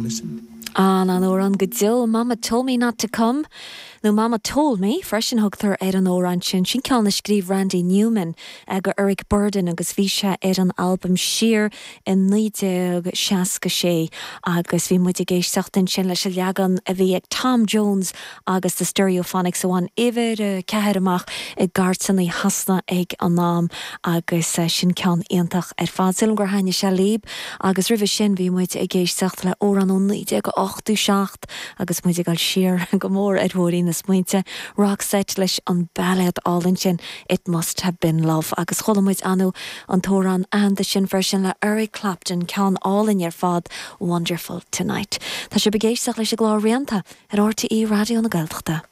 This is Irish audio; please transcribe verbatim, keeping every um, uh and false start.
listen. An an-amhrán go deo Mama told me not to come nó Mama told me freisin thugtar ar an amhrán sin sin ceann a scríobh Randy Newman do Eric Burdon agus bhí sé ar an albam siar in naoi déag seasca sé agus bhí muid ag éisteacht ansin leis an leagan a bhí ag Tom Jones agus the Stereophonics a bhain uimhir a ceathair amach i gcairteanna Shasana ag an am agus eh, sin ceann iontach ar fad Sílim gur thaitin sé libh agus roimhe sin bhí muid ag éisteacht le amhrán ó naoi déag ochtó seacht agus muid ag dul siar go mór ar thóir na smaointe Roxette leis an bailéad álainn sin It must have been love agus chuala muid an an t-amhrán aitheanta sin freisin le Eric Clapton ceann álainn ar fad Wonderful Tonight. Tá sibh ag éisteacht leis an gclár Rianta ar RTÉ Raidió na Gaeltachta.